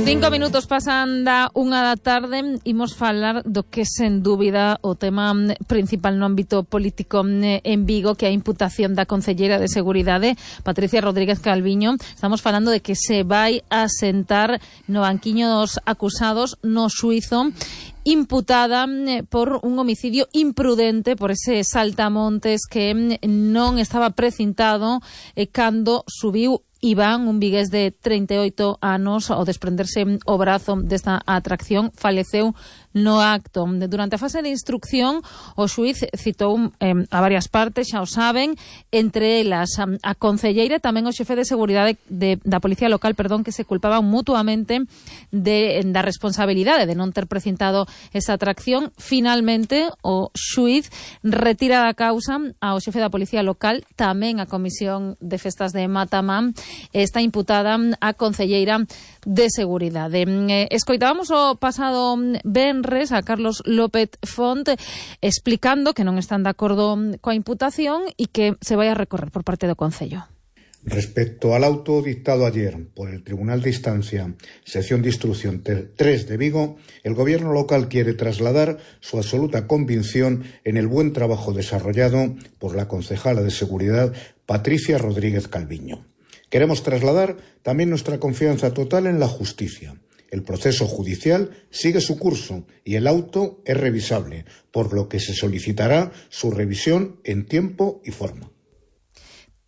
5 minutos pasan da 1 da tarde. Imos falar do que sen dúbida o tema principal no ámbito político en Vigo, que é a imputación da concelleira de Seguridade, Patricia Rodríguez Calviño. Estamos falando de que se vai a sentar no banquiño dos acusados no xuízo, imputada por un homicidio imprudente, por ese saltamontes que non estaba precintado cando subiu Iván, un vigués de 38 anos, ao desprenderse o brazo desta atracción, faleceu no acto. Durante a fase de instrucción, o xuíz citou a varias partes, xa o saben, entre elas a concelleira e tamén o xefe de seguridade da Policía Local, que se culpaban mutuamente da responsabilidade de non ter precintado esa atracción. Finalmente, o xuíz retira da causa ao xefe da Policía Local, tamén a Comisión de Festas de Matamán. Está imputada a concelleira de Seguridade. Escoitábamos o pasado venres a Carlos López Font explicando que non están de acordo coa imputación e que se vai a recorrer por parte do Concello. Respecto al auto dictado ayer por el Tribunal de Instancia, sección de instrucción 3 de Vigo, el gobierno local quiere trasladar su absoluta convicción en el buen trabajo desarrollado por la concejala de Seguridad, Patricia Rodríguez Calviño. Queremos trasladar también nuestra confianza total en la justicia. El proceso judicial sigue su curso y el auto es revisable, por lo que se solicitará su revisión en tiempo y forma.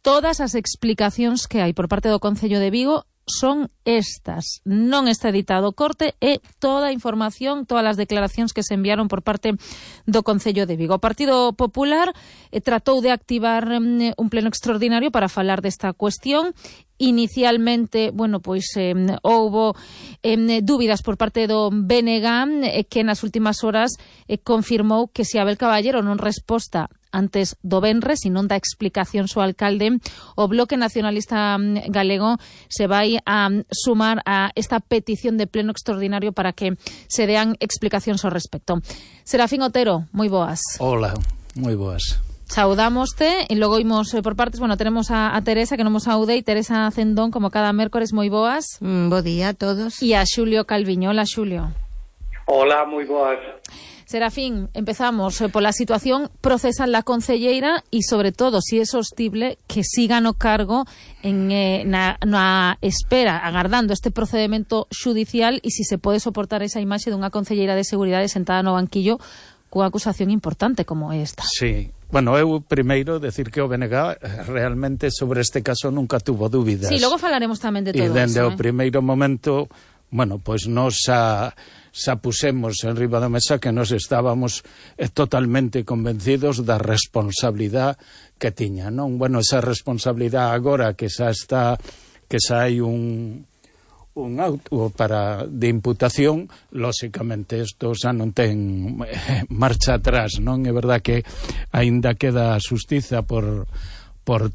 Todas as explicacións que hai por parte do Concello de Vigo son estas. Non está editado corte e toda a información, todas as declaracións que se enviaron por parte do Concello de Vigo. O Partido Popular tratou de activar un pleno extraordinario para falar desta cuestión. Inicialmente, houbo dúbidas por parte do BNG, que nas últimas horas confirmou que se Abel Caballero non resposta antes do venres e non dá explicación ao alcalde, o Bloque Nacionalista Galego se vai a sumar a esta petición de pleno extraordinario para que se dean explicacións ao respecto. Serafín Otero, moi boas. Hola, moi boas. Saudámoste e logo imos por partes. Tenemos a Teresa, que non nos saúde, e Teresa Cendón, como cada mércores, moi boas. Bo día a todos. E a Xulio Calviño. Hola, Xulio. Hola, moi boas. Serafín, empezamos pola situación procesal da concelleira e, sobre todo, si é sostible que siga no cargo na espera, agardando este procedimento xudicial, e si se pode soportar esa imaxe dunha concelleira de Seguridade sentada no banquillo cunha acusación importante como esta. Sí. Eu primeiro decir que o BNG realmente sobre este caso nunca tuvo dúbidas. Sí, logo falaremos tamén de todo eso. E dende o primeiro momento, nos xa pusemos en riba da mesa que nos estábamos totalmente convencidos da responsabilidade que tiña, non? Esa responsabilidade agora que xa hai un auto de imputación, lóxicamente isto xa non ten marcha atrás, non? É verdad que aínda queda a xustiza por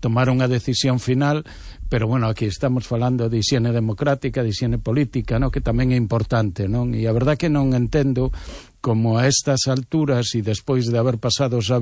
tomar unha decisión final, pero aquí estamos falando de hixiene democrática, de hixiene política, non? Que tamén é importante, non? E a verdad que non entendo como a estas alturas e despois de haber pasado xa